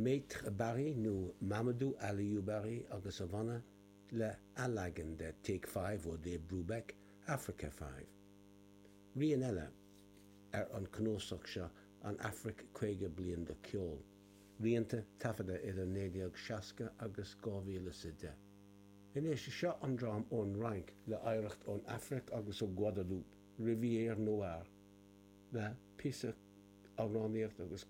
Maître Barry nó Mamadou Aliou Barry agus a bhanna le athleagan de Take Five ó Dave Brubeck, Africa Five. Rian eile ar an cnuasach seo An Afraic 50 Bliain de Cheol, rianta taifeadta idir 1960 agus 2010. Anois, seo an dream ón Fhrainc le hoidhreacht ón Afraic agus ó Guadeloupe, Rivière Noire, le píosa amhránaíocht agus.